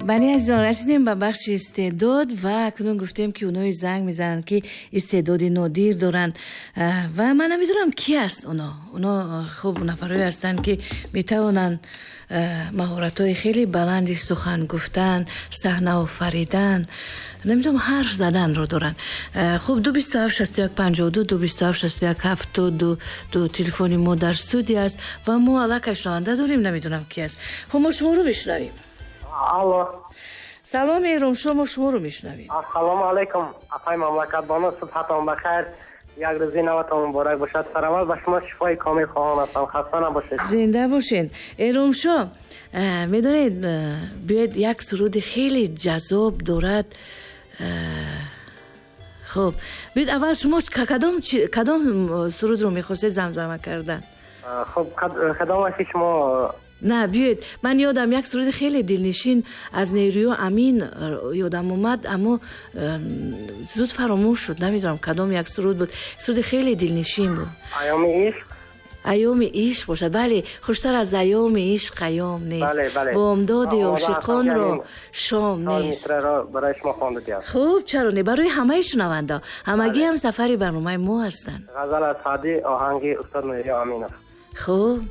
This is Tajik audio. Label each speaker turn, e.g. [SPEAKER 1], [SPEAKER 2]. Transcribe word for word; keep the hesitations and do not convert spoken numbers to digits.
[SPEAKER 1] Бале, азизон, расидем ба бахши истеъдод ва акнун гуфтем, ки оное занг мезананд, ки истеъдоди нодир доранд, ва ман намедонам, ки аст оно. Оно хуб нафарое ҳастанд, ки метавонанд маҳоратҳои хеле баланди сухан гуфтан, саҳна офаридан, намедонам, ҳарф заданро доранд. Хуб, ду бисту ҳафт шасту як панҷоҳу ду, ду бисту ҳафт шасту як ҳафтоду ду телефони мо дар студия аст ва мо аллакай шунаванда дорем, намедонам, ки аст. Хуб, мо шуморо мешунавем.
[SPEAKER 2] Алло.
[SPEAKER 1] Салом, Эромшо, мо шуморо мешунавем.
[SPEAKER 2] Ассалому алайкум, апаи Мамлакатбону, субҳатон бахайр, як рӯзи наватон муборак бошад. Сараввал ба шумо шифои комил хоҳон ҳастам, хаста набошед.
[SPEAKER 1] Зинда бошед, Эромшо. Медонед, биёед, як суруди хеле ҷаззоб дорад. Хуб, биёед, аввал шумо кадом кадом сурудро мехостед замзама кардан?
[SPEAKER 2] Хуб, кадом ки шумо.
[SPEAKER 1] На, биёед, ман ёдам як суруди хеле дилнишин аз Нерӯё Амин ёдам омад, аммо зуд фаромӯш шуд. Намедонам, кадом як суруд буд, суруди хеле дилнишин буд.
[SPEAKER 2] Айёми ишқ.
[SPEAKER 1] Айёми ишқ бошад, бале. Хуштар аз айёми ишқ айём нест, бомдоди ошиқонро шом нест.
[SPEAKER 2] Барои шумо хонда.
[SPEAKER 1] Хуб, чаро не, барои ҳамаи шунаванда, ҳамагӣ ҳам сафари барномаи мо ҳастанд.
[SPEAKER 2] Ғазал аз Саъдӣ, оҳанги устод Нурия Аминов.
[SPEAKER 1] Хуб.